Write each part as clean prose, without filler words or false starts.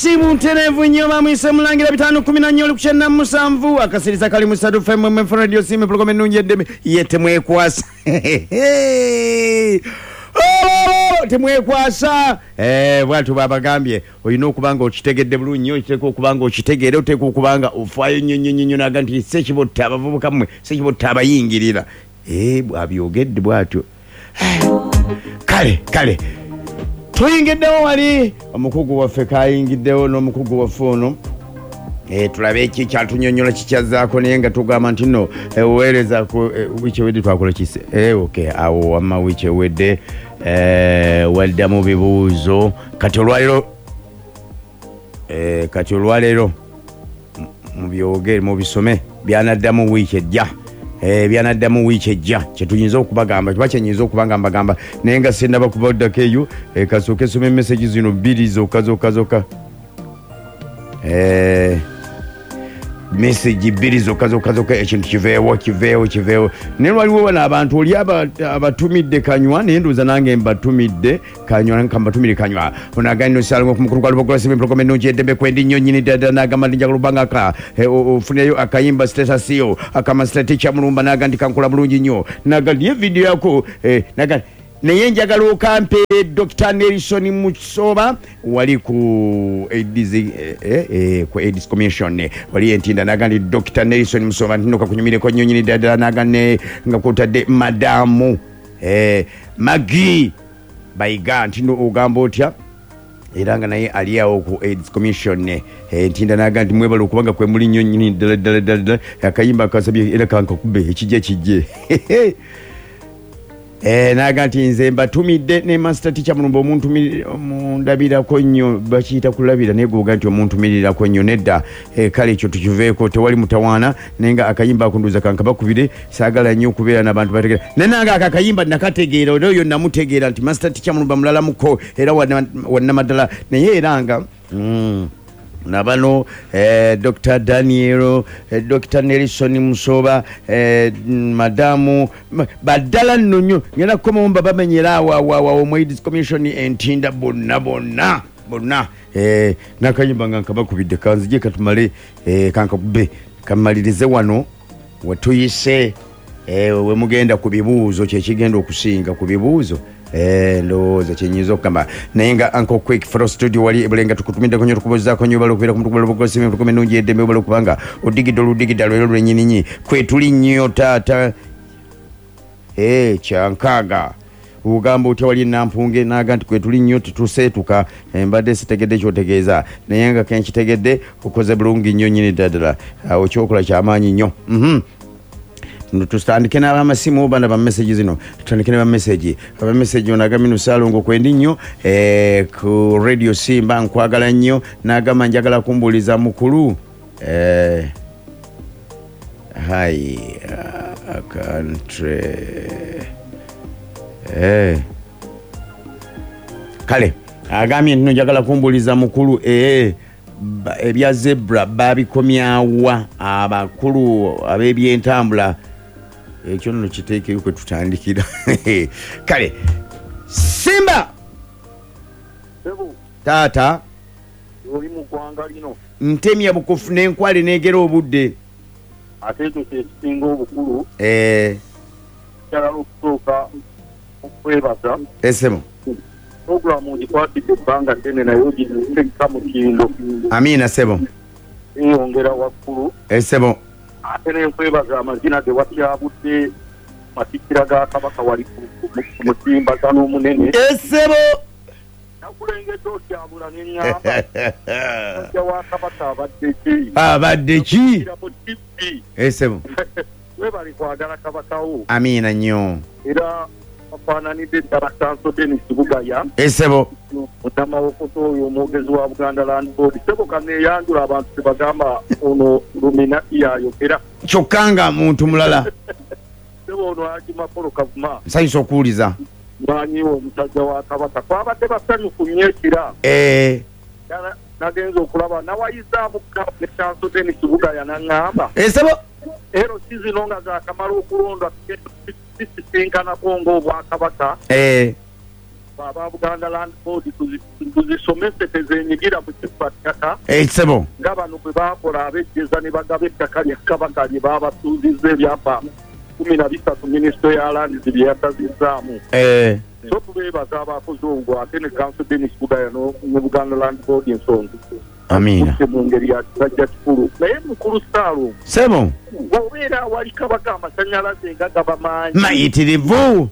Si buntereevu nnyo. Bamwise Mulangira 514 oli ku 97 akasiriza kali mu 3 FM FM Radio Simba, program ennungi eddeme ye temwekwasa. Oh, temwekwasa. Bwatyo babagambye olina okuba nga okitegedde bulungi nnyo, okiteeka okuba nga okitegeera, oteeka okuba nga ofaayo nnyo nnyo nnyo nnyo. Naga nti sekibotta abavubuka mmwe, sekibotta abayingirira. Bwabyogedde bwatyo. Kale tuyingiddewo wali omukugu waffe kayingiddewo n'omukugu waffe ono. Tulabe eki kyatunyonyola kikyazaako, naye nga tugamba nti no oweereza ku wiiki ewedde twakola kise. Okay, awo wamma wiiki ewedde waddamu bibuuzo. Kati olwaleero mubyogere, mubisome byanaddamu wiiki ejja. Byanaddamu wiiki ejja kyetuyinza okubagamba, kiba kyenyinza okuba nga mbagamba, naye nga sindaba kubaddako eyo. Kasooke soma emessage zino bbiri zokka zokka zokka. Message bbiri zokka zokka zokka, ekintu kiveewo, kiveewo, kiveewo. Naye waliwo wano abantu oli abatumidde kanywa, naye ndowooza nange mbatumidde kanywa, kambatumire kanywa. Ono agambye nosalango ku mukulu gwa Lubogola Simba, program ennungi eddembe kwendi nnyo nnyini ddala. N'agamba nti njagala obanga ka ofuneyo akayimba status yo akamaster teacher Mulumba. N'aga nti kankola bulungi nnyo. N'aga nti ye video yako, n'aga naye njagala okampeere Dr Nelson Musoba wali ku AIDS, ku AIDS Commission wali Entinda. Naga nti Dr Nelson Musoba nti nokakunyumireko nnyo nyini ddala ddala. Naga ne nga kwotadde madamu Magi Bayiga nti no ogamba otya, era nga naye ali awo ku AIDS Commission Ntinda. Naga nti mwebale okubanga kwe muli nnyo nnyini ddala ddala ddala ddala. Akayimba akasabye era kankakube ekijje kijje. Naga nti nze mbatumidde ne master teacher Mulumba omuntu mundabirako nnyo. Bakiyita kulabira, naye gwoga nti omuntumirirako nnyo nedda. Kale ekyo tukiveeko, tewali mutawaana. Naye nga akayimba ako ndowooza kankabakubire, saagala nnyo okubeera n'abantu bategeera. Naye nange ako akayimba nakategeera, era oyo namutegeera nti master teacher Mulumba mulalamuko era wannamaddala. Naye era nga nabano Dr Daniel, Dr Nelson Musoba, madamu baddala nno nnyo. Ngenda kukomawo mba bamenyera awo awo awo awo mu AIDS Commission Entinda bonna bonna bonna. Nakayimba nga nkabakubidde, kanzije katumale, kankakube kamalirize wano wetuyise, wemugenda ku bibuuzo, kyekigenda okusinga ku bibuuzo. Ndowooza kyenyinza okugamba. Naye nga Uncle Quick Fro Studio wali ebulenga, tukutumiddeko nnyo, tukubuuzaako nnyo. Obala okubeera ku mutukubalobogosimi ennungi eddembe, obala okubanga odigidde oludigidda lwero lwennyininnyi kwetuli nnyo taata. Kyankaaga ogamba otya wali Nampunge? Naga nti kwetuli nnyo, tetuseetuka. Mbadde sitegedde kyotegeeza, naye nga kenkitegedde okoze bulungi nnyo nnyini ddala. Awo kyokola kyamaanyi nnyo. Tutandike n'abamasimu bana ba message zino, tutandike ne ba message, aba message. Ono agambye Salongo kwendi nnyo ku Radio Simba, nkwagala nnyo. N'agamba njagala kumbuuliza mukulu, hi country. Kale agambye nti no njagala kumbuuliza mukulu, ebya zebra babikomyawa abakulu ab'ebyentambula? Ekyo nno kiteekeyo kwe tutandikira. Kale Simba. Sebo. Taata. Oli mu ggwanga lino. Ntemya bukufu n'enkwale neegera obudde. Ate ekyo kyekisinga obukulu. Njagala okusooka okwebaza. Esebo. Puroguramu ngikwatidde ebbanga ddene, naye ogitekka mutindo. Amiina sebo. Eyongera waggulu. Esebo. Ate nenkwebaza amazina ge watyabudde matikkira ga Kabaka wali ku mutimbagano omunene. Esebo. Nakulengedde otyabula neŋŋamba, musajja wa Kabaka abadde ki? Abadde ki? Mu TV. Esebo. Webale kwagala Kabakawo. Amiina nnyo. Era bafaananidde ddala Sanso Denis Bugaya. Esebo. Munnamawokoto oyo omwogezi wa Buganda Land Board. Sebo, kaneeyanjula, abantu tebagamba ono Luminati yayogera. Kyokka nga muntu mulala. Sebo, ono Haji Makolo Kavuma. Nsanyusa okuwuliza. Mwanyiwe omusajja wa Kabaka, twabadde basanyufu nnyo ekira. Nagenza okulaba nawayizaamu ne Sanso Denis Bugaya naŋŋamba, Esebo. Ero si zino nga zakamala okulondwa, sisisinkanako ng'obwakabaka. Aba Buganda Land Board tuzisomese tezenyigira mu kibba ttaka. Ssebo. Nga bano bwe baakola ab'ejjeza ne bagaba ettaka lya Kabaka lye baabasuuzizza ebyapa 13 minisitule ya Lands bye yasazizzaamu. So tubeebaza abakoze ogwo ate ne Counsel Denis Bugaya ne Buganda Land Board ensonga Amiina. Mu ngeri ya kisajja kikulu. Naye mukulu Ssaalongo. Ssebo. Bw'obeera awali Kabaka amasannyalaze nga gaba mangi. Mayitirivu.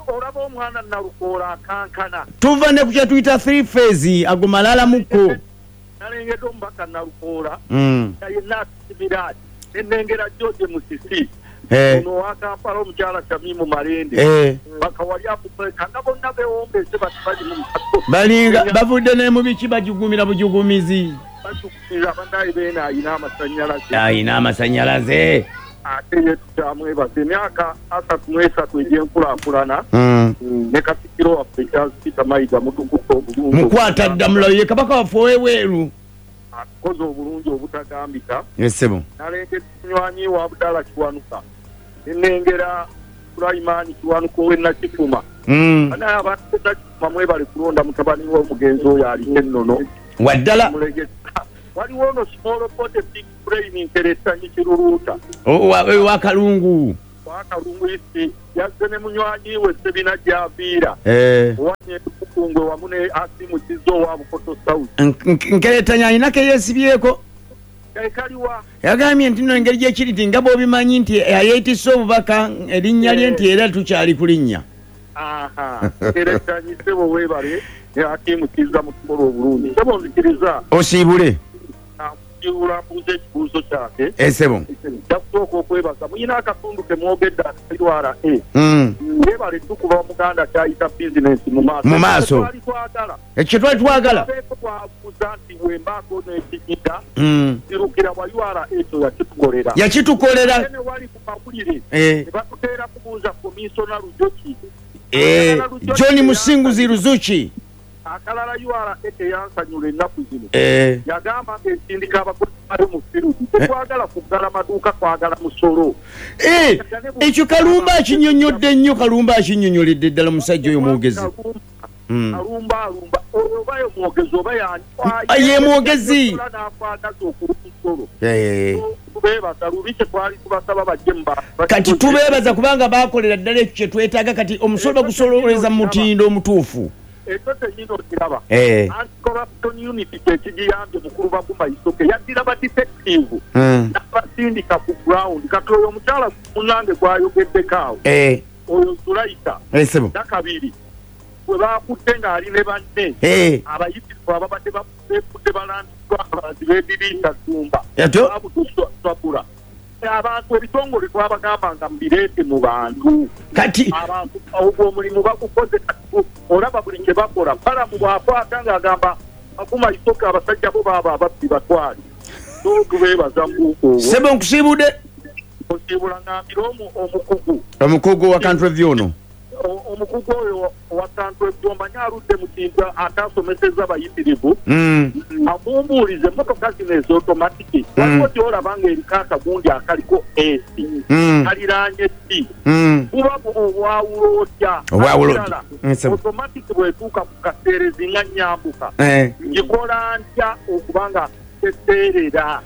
Olaba omwana Nalukoola akankana. Tuva ne ku kye tuyita 3 phase ago malala mukko. Nalengedde omubaka Nalukoola nga yenna atusimira ati. Ne nnengera George Musisi. Ono owa Kampala omukyala Shamimu Malende. Baka wali akupeka nga bonna beewombeese bati bali mu mukago. Balinga bavudde ne mu biki bajugumira bujugumizi. Bajugumira bannaye Beene alina amasannyalaze. Alina amasannyalaze. Ate ye tukyamwebaza emyaka 33 egy'enkulaakulana ne Katikkiro waffe Charles Peter Mayiga mutukutte obulungi. Mukwata ddamula ye Kabaka waffe ow'ebweru. Atukoze obulungi obutagambika. Ssebo. Nalengera munywanyi wa Abdallah Kiwanuka. Ne nnengera Sulaiman Kiwanuka ow'e Nakifuma. Banaye abantu b'e Nakifuma mwebale kulonda mutabani w'omugenzi oyo aliko ennono. Waddala. Waliwo ono small body big brain nkeretanyi Kiruluuta. Owa Kalungu. Owa Kalungu isi yazze ne munywanyi we Ssebina gy'aviira. Owanye Kukungwe wamu ne Asimu Kizzo owa Bukoto South. Nkeretanyi alina ke yeesibyeko. Kaliwa. Yagambye nti nno engeri gyekiri nti nga bw'obimanyi nti ayeetisse obubaka erinnya lye nti era tukyali ku linnya. Nkeretanyi ssebo weebale ne Asimu Kizza mutukola obulungi. Ssebo nzikiriza. Osiibule. Mbuuza ekibuuzo kyange. Ssebo. Nja kusooka okwebaza. Muyina akatundu ke mwogedde akali URA. Weebale tukuba Omuganda ky'ayita bizinensi mu maaso. Mu maaso. Twali twagala. Ekyo twali twagala. Twabuuza nti bwe mbaako n'ekijida. Kirukira wa URA ekyo yakitukolera. Yakitukolera. Ne wali ku mawulire. Ne batuteera kubuuza komisona Lujoki. John Musinguzi Luzuki. Akalala URA teyansanyula ennaku zino. Yagamba ng'ensindika abakozi bali mu field. Tetwagala kuggala maduuka, twagala musolo. Ekyo Kalumba akinnyonnyodde nnyo, Kalumba akinnyonnyoledde ddala musajja oyo mwogezi. Kalumba alumba oyo oba ye mwogezi oba y'ani? Ye mwogezi. N'akwagaza okuwa omusolo. Tubeebaza lubi kye twali tubasaba bajje mu bantu. Kati tubeebaza kubanga baakolera ddala ekyo kye twetaaga kati omusolo bagusololeza mu mutindo omutuufu. Ekyo kyennyini okiraba. Anti-corruption unit kye kigiyambye mukulu Baguma Isoke yaddira ba detective n'abasindika ku ground. Kati oyo omukyala munnange gw'ayogeddeko awo oyo Zulaika Nakabiri bwe baakutte ng'ali ne banne abayitirivu ababadde beefudde balandiddwa abalanzi b'ebiriisa Ddumba babutusabula. Abantu ebitongole twabagamba nga mubireete mu bantu. Kati abantu ogwo omulimu bagukoze kati olaba buli kye bakola. Balamu bw'akwata ng'agamba Baguma Isoke abasajja bo baaba ababbi batwale. So tubeebaza mbuuka obwo. Ssebo nkusiibudde. Osiibula ngambira omukugu. Omukugu wa Country View ono. Omukugu oyo wa Country View omanyi aludde mu kintu atasomesezza bayitirivu. Amumbuulize emmotoka zino ez'otomatiki. Waliwo gy'olaba ng'eriko akagundi akaliko AC. Kaliraanye T. Buba obwawulo otya? Obwawulo otya? Otomatiki bw'etuuka ku kaseerezi nga nnyambuka. Ngikola ntya okubanga teseerera?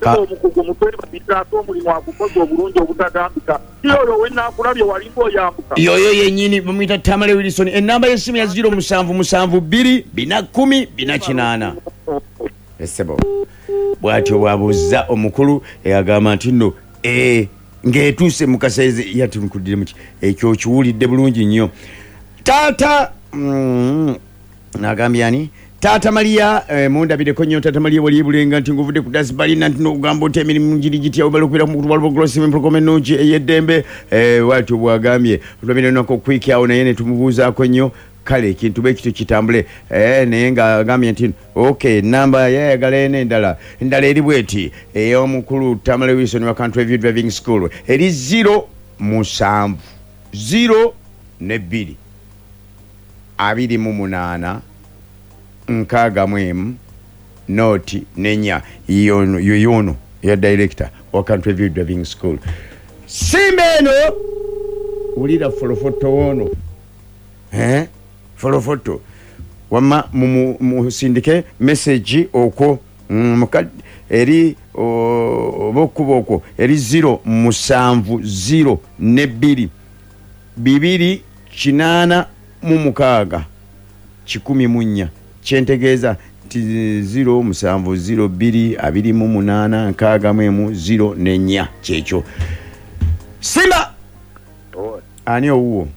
Omukugu mutwebaliza ate omulimu agukoze obulungi obutagambika. Si oyo we naakulabye walinga oyambuka. Yoyo yennyini bamuyita Tamale Wilson. Ennamba y'essimu ya 072 410 408. Ssebo. Bw'atyo bw'abuuza omukulu agamba nti nno ng'etuuse mu kaseerezi yatunkuddire muki ekyo okiwulidde bulungi nnyo. Taata n'agambye ani? Taata Maria mundabireko nnyo Taata Maria wali Bulenga nti ng'ovudde ku Dasbalina nti n'ogamba otya emirimu giri gitya obala okubeera ku mukutu gwa Global Empologoma ennungi ey'eddembe bw'atyo bw'agambye. Tulabire nako quick awo naye ne tumubuuzaako nnyo kale ekintu bwe kityo kitambule naye ng'agambye nti okay namba yayagala eno endala endala eri bw'eti ey'omukulu Tamale Wilson wa Country View Driving School eri 0 7 0 2 28 61 noti nenya yono ya director wa Country View Driving School. Simba eno ulira folofoto wono. Folofoto wamma musindike message okwo eri oba okkuba okwo eri 0 7 0 2 2 8 6 104. Kyentegeeza nti 0 7 0 2 28 61 0 4 kyekyo. Simba ani owuwo?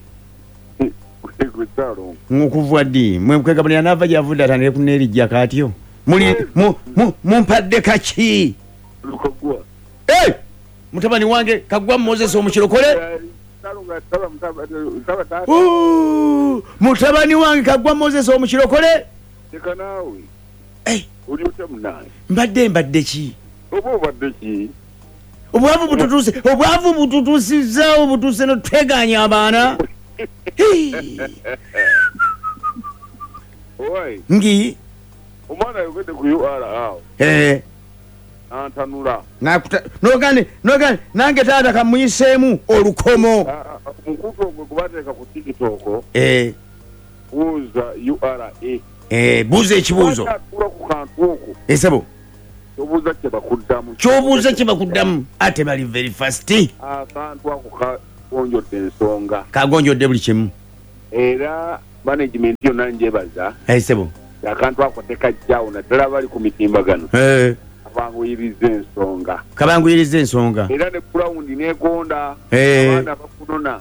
Nkuvwa ddi? Mwe nava gyavudde atandike kuneerijja kaatyo. Muli mumpadde kaki? Hey! Mutabani wange Kagwa Moses omukirokole. Mutabani wange Kagwa Moses omukirokole. Hey! Mbadde ki? Obwavu bututuse, obwavu bututusizza, obutuse noteganya abaana. Ngi omwana ayogedde ku UR awo. Antanula. Nakuta nogane nange taata kamuyiseemu olukomo. Mukutu ogwo gubateeka ku TikTok. Buuza URA. Buuza ekibuuzo. Ku kantu okwo. Esebo. Kyobuuza kye bakuddamu. Kyobuuza kye bakuddamu. Ate bali very fast. Akantu ako kagonjodde ensonga. Kagonjodde buli kimu. Era management yonna njebaza. Esebo. Akantu ako tekajjawo naddala bali ku mitimbagano. Kabanguyiriza ensonga. Kabanguyiriza ensonga. Era ne ground neegonda. Abaana bakunona.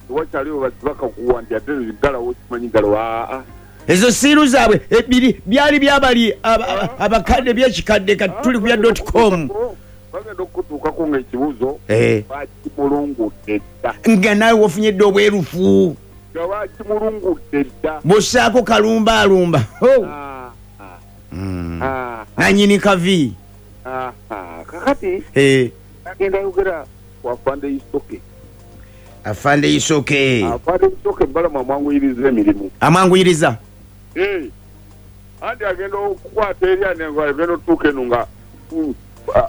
Tewakyaliwo basibakakuwa nti ate ggalawo kimanyi ggalawo aa. Ezo siiru zaabwe ebiri byali byabali abakadde byekikadde kati tuli ku bya .com. Bagenda okutuukako ng'ekibuuzo bakimulungudde dda. Nga naawe wafunye dda obwerufu. Nga bakimulungudde dda. Bw'ossaako kalumba alumba. Nannyini kavi. Kakati agenda yogera ku Afande Isoke. Afande Isoke. Afande Isoke Balamu amwanguyiriza emirimu. Amwanguyiriza. Anti agenda okukwata eri agenda otuuka eno nga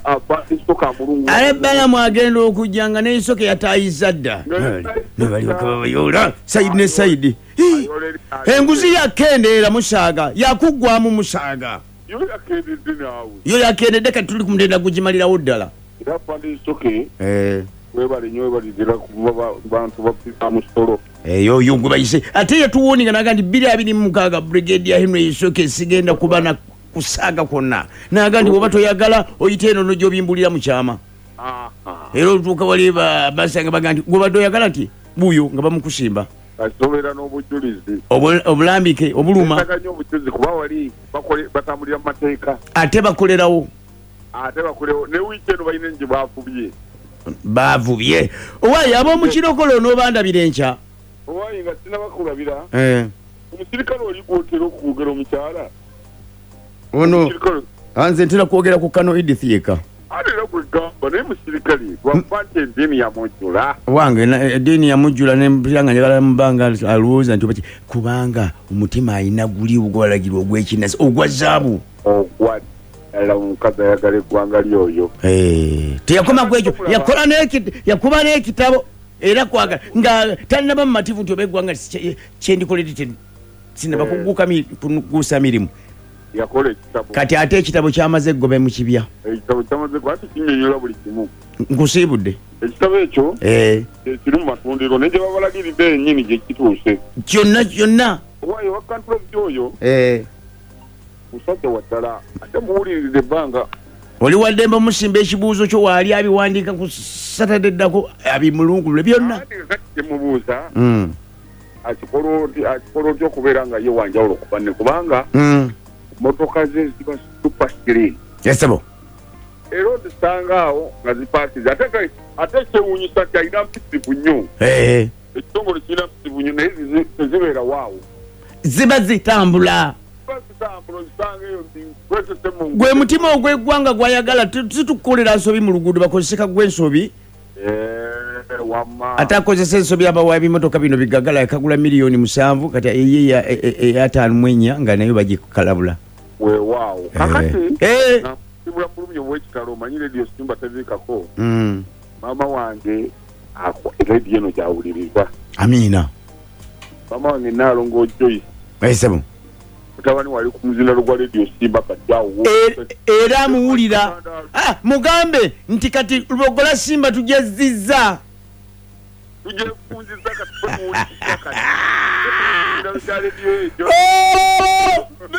Afande Isoke amulungu. Ale Balamu agenda okujja nga ne Isoke yataayiza dda. Ne balyoka babayoola sayidi ne sayidi. Enguzi yakendeera musaaga yakuggwamu musaaga. Yo yakendedde naawe. Yo yakendedde kati tuli ku mutendera gugimalirawo ddala. Era Afande Isoke webale nnyo webalidira kuba bantu bapika musolo. Eyo yo gwe bayise ate yatuwoninga naga nti 2026 Brigadier Henry Isoke sigenda kuba na kusaaga kwonna. Naga nti bw'oba toyagala oyite eno n'obimbulira mu kyama. Era olutuuka wali basanga baga nti gw'obadde oyagala nti buuyo nga bamukusimba. Asobeera n'obujulizi. Obulambike obuluma. Nnyo obujulizi kuba wali batambulira mu mateeka. Ate bakolerawo. Ate bakolerawo ne wiiki eno balina gye baafubye. Baavubye. Owaye ab'omukirokole onoobandabira enkya. Owaye nga sinnabakulabira. Omusirikale oli gw'otera okwogera omukyala. Ono nze ntera kwogera ku Kano Edith yekka. Ate era gwe gamba naye musirikale lwakuba nti eddiini yamujjula. Wange eddiini yamujjula ne mpulira nga njagala mubanga alowooza nti kubanga omutima alina guli ogwalagirwa ogw'ekinnasi ogwa zaabu. Ogwa ddala omukazi ayagala eggwanga lyoyo. Teyakoma ku ekyo yakuba n'ekitabo era kwagala nga tannaba mumativu nti oba eggwanga kyendikolede sinnaba kuguusa mirimu. Yakola ekitabo. Kati ate ekitabo kyamaze eggobe mu kibya. Ekitabo kyamaze ate kinnyonnyola buli kimu. Nkusiibudde. Ekitabo ekyo kiri mu matundiro naye gye babalagiridde yennyini gye kituuse. Kyonna kyonna. Owaye wa country oyo. Musajja wa ddala ate muwulirize ebbanga. Oli waddembe omusimba ekibuuzo kyo waali abiwandiika ku Saturday eddako abimulungulule byonna. Kati kyemubuuza akikola otya okubeera nga ye wanjawulo ku banne kubanga motoka ze ziba super clean. Yesebo. Era ozisanga awo nga zipaakize ate kyewuunyisa nti alina mpisivu nnyo. Ekitongole kirina mpisivu nnyo naye tezibeera waawo. Ziba zitambula. Gwe mutima ogw'eggwanga gwayagala situkukolera nsobi mu luguudo bakozese kagwa ensobi. Ate akozesa ensobi abawa ebimotoka bino bigagala yakagula 7,000,000 kati eye 54 nga nayo bagikalabula. Weewaawo. Kakati sibula bulumi obw'ekitalo omanyi Radio Simba tebiikako. Maama wange rediyo eno gyawuliriza. Amiina. Maama wange Nnaalongo Joyce. Esebo. Mutabani wali ku muzindaalo gwa Radio Simba kati awo. Era amuwulira. Mugambe nti kati Lubogola Simba tugyezizza. Tugyefunzizza kati tumuwuliriza kati. Muzindaalo gya radio egyo.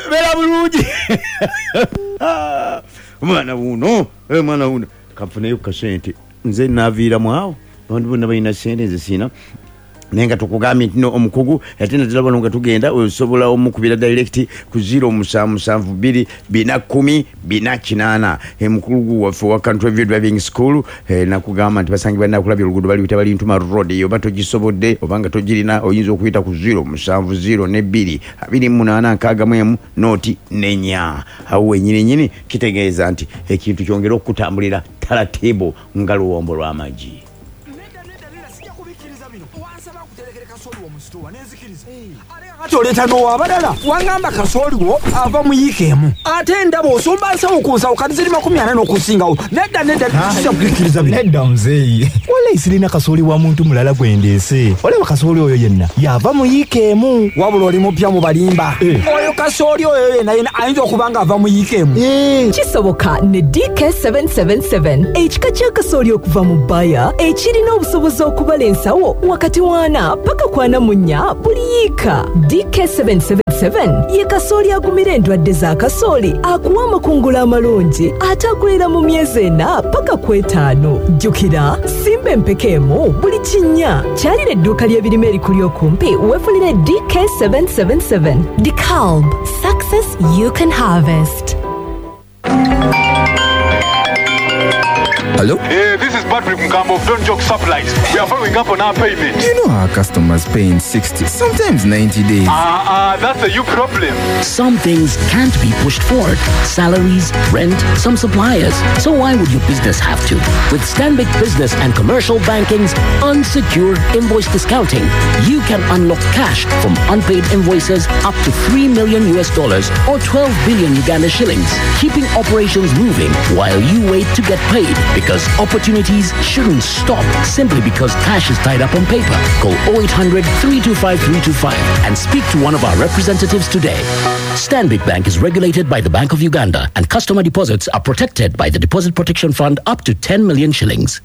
Beera bulungi. Omwana wuno, omwana wuno. Kanfuneyo ku kasente. Nze naaviiramu awo. Abantu bonna balina sente nze sirina. Naye nga tukugambye nti no omukugu ate naddala wano nga tugenda osobola omukubira direct ku 0 musanvu musanvu bbiri bina kkumi bina kinaana. Omukugu waffe owa Country View Driving School nakugamba nti basangibwa Nakulabye oluguudo baluyita Balintuma Road. Eyo oba togisobodde oba nga togirina oyinza okuyita ku 0 musanvu 0 ne bbiri abiri mu munaana nkaaga mu emu nooti n'ennya. Awo wennyini nnyini kitegeeza nti ekintu kyongere okukutambulira taratibu nga luwombo lw'amagi. Nedda nedda nedda sijja kubikkiriza bino. Wansaba nkuterekere kasooli wo mu sitoowa ne nzikiriza. Ate kaakati oleeta n'ow'abalala. Wangamba kasooli wo ava mu yiika emu. Ate ndaba osomba nsawo ku nsawo kati ziri 40 n'okusingawo. Nedda nedda sijja kubikkiriza bino. Nedda muzeeyi. Walayi sirina kasooli wa muntu mulala gwe ndeese. Olaba kasooli oyo yenna y'ava mu yiika emu. Wabula oli mupya mu balimba. Oyo kasooli oyo yenna yenna ayinza okuba ng'ava mu yiika emu. Kisoboka ne DK777 ekika kya kasooli okuva mu Bayer ekirina obusobozi okubala ensawo wakati w'ana paka ku ana mu nnya buli yiika. DK777 ye kasooli agumira endwadde za kasooli, akuwa amakungula amalungi ate akulira mu myezi ena paka ku etaano. Jjukira, simba empeke emu buli kinnya. Kyalira edduuka ly'ebirime erikuli okumpi weefunire DK777. DeKalb, success you can harvest. Hello? Hey, this is Patrick Mugambo of Don't Joke Supplies. We are following up on our payment. You know our customers pay in 60, sometimes 90 days. That's a you problem. Some things can't be pushed forward. Salaries, rent, some suppliers. So why would your business have to? With Stanbic Business and Commercial Banking's unsecured invoice discounting, you can unlock cash from unpaid invoices up to $3 million US or 12 billion Uganda shillings, keeping operations moving while you wait to get paid. Because opportunities shouldn't stop simply because cash is tied up on paper. Call 0800 325 325 and speak to one of our representatives today. Stanbic Bank is regulated by the Bank of Uganda and customer deposits are protected by the Deposit Protection Fund up to 10 million shillings.